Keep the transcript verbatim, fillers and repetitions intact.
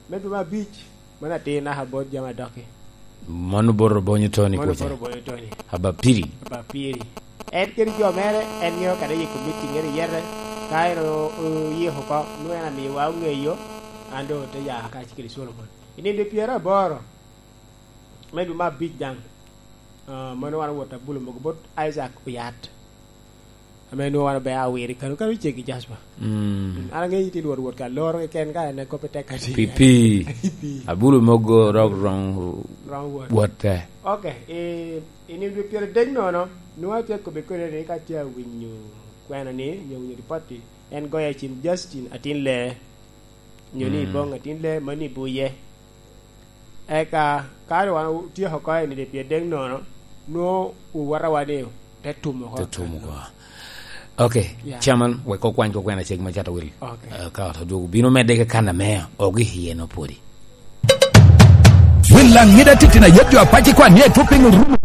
Me dwe me abic, mano atir naka bot jami adoki. Mano bot Obonyo Tony Mano kuca. Bot Obonyo Tony. Aba piri. Aba piri. En kede jo mere, en ŋeo kadi yiko meeting, en iyete. Ka en o-, oyiko oko, nwoŋo en amiwa oŋeyo, an doŋ ote ya kacel kede Solomon. I nino dwe pyeraboro, me dwe me abic daŋ, ah, mano wan owot abulo mogo bot Isaac Oyat. Ame nwoŋo wan obe awiro i kano, kano ceggi Jasper. Mm. An aŋeyo itye Lwot Wot ka loro keken ka en kop i tek ati. Pi, pi. Pi. Abulo mogo rok rong Wrong word. Wot te. Ok, i, i nino dwe pyeradek nono, nwoŋo atye kobbe kodi ni ka atye awinyo kwena ni, nyo winyo ripot-ti, en goyo i cim Justin atin lee. Nyo ni Mm. Ibong atin lee, mano ibuye. Eka, ka wan otyeko oko i nino dwe pyeradek nono, nwoŋo owota wa ni te tum oko. Te tum oko. Ok, Yeah. Chairman, wek okwany ko kwena ceggi ma cato wil. Ok. Eh, ka ot odwogo bino medde ke kan ame ogi iye no pwodi. Wil aŋida titino ayet jo apac i kwan ni etwo piny orumo.